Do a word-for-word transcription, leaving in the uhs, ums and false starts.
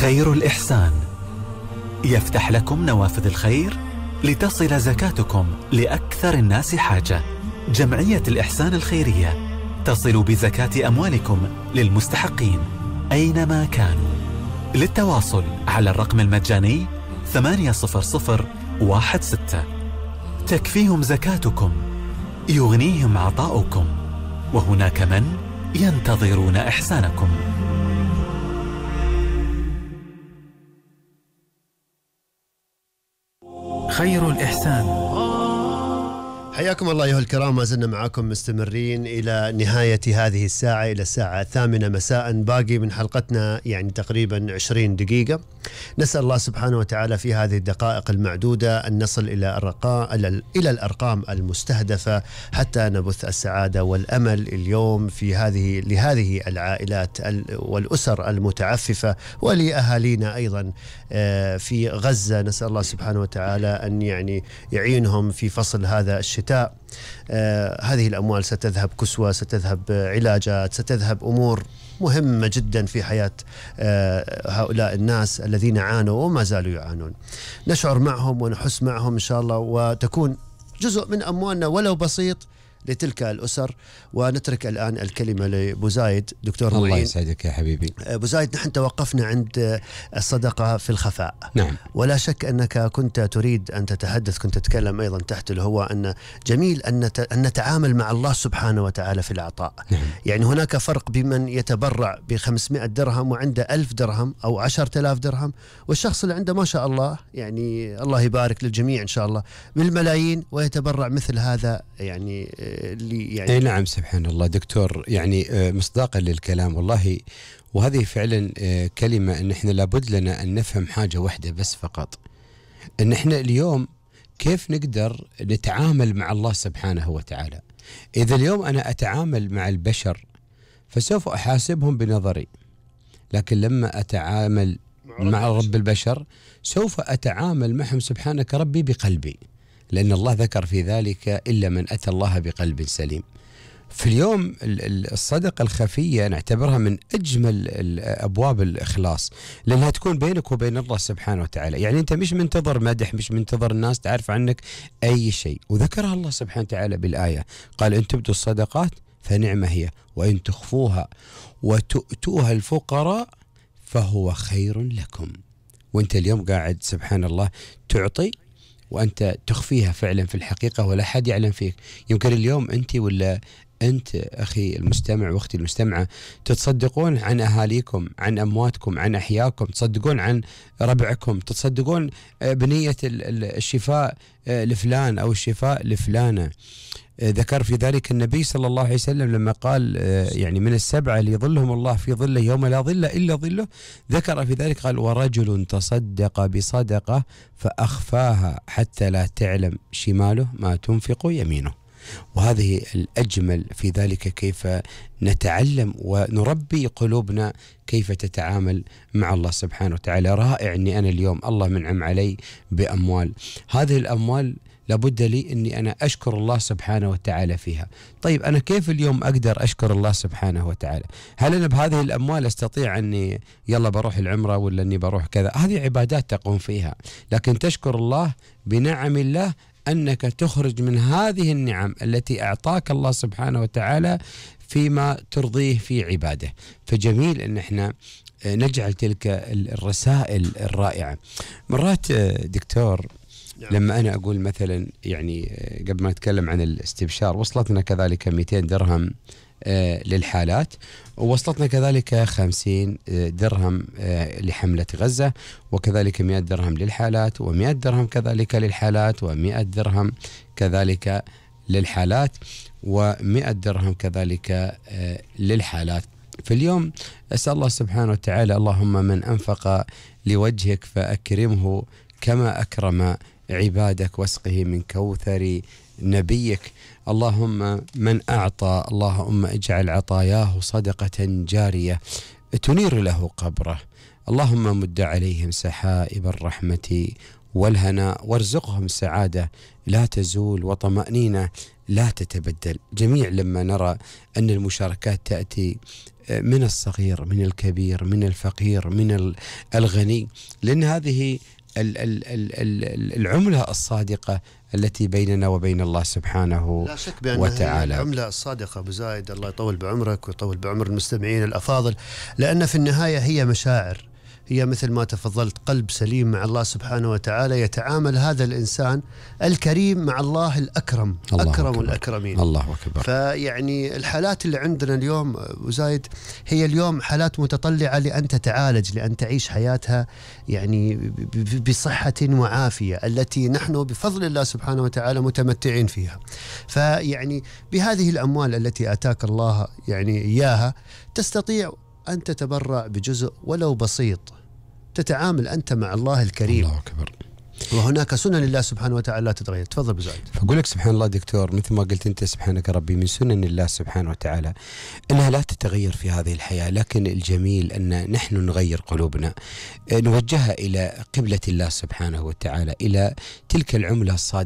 خير الإحسان يفتح لكم نوافذ الخير لتصل زكاتكم لأكثر الناس حاجة. جمعية الإحسان الخيرية تصل بزكاة أموالكم للمستحقين أينما كانوا. للتواصل على الرقم المجاني ثمانية صفر صفر واحد ستة. تكفيهم زكاتكم، يغنيهم عطاؤكم، وهناك من ينتظرون إحسانكم. خير الإحسان. حياكم الله أيها الكرام، ما زلنا معكم مستمرين إلى نهاية هذه الساعة، إلى الساعة الثامنة مساء. باقي من حلقتنا يعني تقريبا عشرين دقيقة. نسأل الله سبحانه وتعالى في هذه الدقائق المعدودة أن نصل إلى الرقام إلى الأرقام المستهدفة حتى نبث السعادة والأمل اليوم في هذه لهذه العائلات والأسر المتعففة ولأهالينا أيضا في غزة. نسأل الله سبحانه وتعالى أن يعني يعينهم في فصل هذا الشتاء. آه هذه الأموال ستذهب كسوة، ستذهب علاجات، ستذهب أمور مهمة جدا في حياة آه هؤلاء الناس الذين عانوا وما زالوا يعانون. نشعر معهم ونحس معهم إن شاء الله، وتكون جزء من أموالنا ولو بسيط لتلك الأسر. ونترك الآن الكلمة لأبو زايد. دكتور الله معين، يسعدك يا حبيبي. أبو زايد، نحن توقفنا عند الصدقة في الخفاء. نعم. ولا شك أنك كنت تريد أن تتحدث، كنت تتكلم أيضا تحت الهواء أن جميل أن أن نتعامل مع الله سبحانه وتعالى في العطاء. نعم. يعني هناك فرق بمن يتبرع بخمسمائة درهم وعنده ألف درهم أو عشرة آلاف درهم، والشخص اللي عنده ما شاء الله يعني الله يبارك للجميع إن شاء الله بالملايين ويتبرع مثل هذا. يعني اللي يعني أي نعم، سبحان الله دكتور. يعني مصداقا للكلام والله، وهذه فعلا كلمة أن احنا لابد لنا أن نفهم حاجة واحدة بس فقط، أن احنا اليوم كيف نقدر نتعامل مع الله سبحانه وتعالى. إذا اليوم أنا أتعامل مع البشر فسوف أحاسبهم بنظري، لكن لما أتعامل مع رب البشر سوف أتعامل معهم سبحانك ربي بقلبي، لأن الله ذكر في ذلك إلا من أتى الله بقلب سليم. في اليوم الصدقة الخفية نعتبرها من أجمل أبواب الإخلاص، لأنها تكون بينك وبين الله سبحانه وتعالى. يعني أنت مش منتظر مدح، مش منتظر الناس تعرف عنك أي شيء. وذكرها الله سبحانه وتعالى بالآية، قال إن تبدوا الصدقات فنعمة هي وإن تخفوها وتؤتوها الفقراء فهو خير لكم. وأنت اليوم قاعد سبحان الله تعطي وأنت تخفيها فعلا في الحقيقة ولا حد يعلم فيك. يمكن اليوم أنت ولا أنت أخي المستمع وأختي المستمعة تتصدقون عن أهاليكم، عن أمواتكم، عن أحياكم، تصدقون عن ربعكم، تصدقون بنية الشفاء لفلان أو الشفاء لفلانة. ذكر في ذلك النبي صلى الله عليه وسلم لما قال يعني من السبعة اللي يظلهم الله في ظله يوم لا ظل إلا ظله، ذكر في ذلك قال ورجل تصدق بصدقة فأخفاها حتى لا تعلم شماله ما تنفق يمينه. وهذه الأجمل في ذلك، كيف نتعلم ونربي قلوبنا كيف تتعامل مع الله سبحانه وتعالى. رائع أني أنا اليوم الله منعم علي بأموال، هذه الأموال لابد لي أني أنا أشكر الله سبحانه وتعالى فيها. طيب أنا كيف اليوم أقدر أشكر الله سبحانه وتعالى؟ هل أنا بهذه الأموال أستطيع أني يلا بروح العمرة ولا أني بروح كذا؟ هذه عبادات تقوم فيها، لكن تشكر الله بنعم الله أنك تخرج من هذه النعم التي أعطاك الله سبحانه وتعالى فيما ترضيه في عباده. فجميل أن احنا نجعل تلك الرسائل الرائعة. مرات دكتور لما أنا أقول مثلا يعني قبل ما نتكلم عن الاستبشار، وصلتنا كذلك مئتين درهم للحالات، ووصلتنا كذلك خمسين درهم لحملة غزة، وكذلك مئة درهم للحالات، ومئة درهم كذلك للحالات، ومئة درهم كذلك للحالات، ومئة درهم كذلك للحالات. في اليوم أسأل الله سبحانه وتعالى اللهم من أنفق لوجهك فأكرمه كما أكرم عبادك واسقه من كوثر نبيك. اللهم من أعطى اللهم اجعل عطاياه صدقة جارية تنير له قبره. اللهم مد عليهم سحائب الرحمة والهنا وارزقهم سعادة لا تزول وطمأنينة لا تتبدل. جميع لما نرى أن المشاركات تأتي من الصغير من الكبير من الفقير من الغني، لأن هذه العملة الصادقة التي بيننا وبين الله سبحانه لا شك بأنها وتعالى. العملة الصادقة أبو زايد، الله يطول بعمرك ويطول بعمر المستمعين الأفاضل، لأن في النهاية هي مشاعر، هي مثل ما تفضلت قلب سليم مع الله سبحانه وتعالى، يتعامل هذا الإنسان الكريم مع الله الأكرم، الله أكرم أكبر. الأكرمين. الله أكبر. فيعني الحالات اللي عندنا اليوم أبو زايد هي اليوم حالات متطلعة لأن تتعالج، لأن تعيش حياتها يعني بصحة وعافية التي نحن بفضل الله سبحانه وتعالى متمتعين فيها. فيعني بهذه الأموال التي آتاك الله يعني إياها تستطيع أن تتبرع بجزء ولو بسيط، تتعامل أنت مع الله الكريم. الله أكبر. وهناك سنن لله سبحانه وتعالى لا تتغير. تفضل بزايد. فأقول لك سبحان الله دكتور، مثل ما قلت أنت سبحانك ربي، من سنن الله سبحانه وتعالى أنها لا تتغير في هذه الحياة، لكن الجميل أن نحن نغير قلوبنا، نوجهها إلى قبلة الله سبحانه وتعالى، إلى تلك العملة الصادقة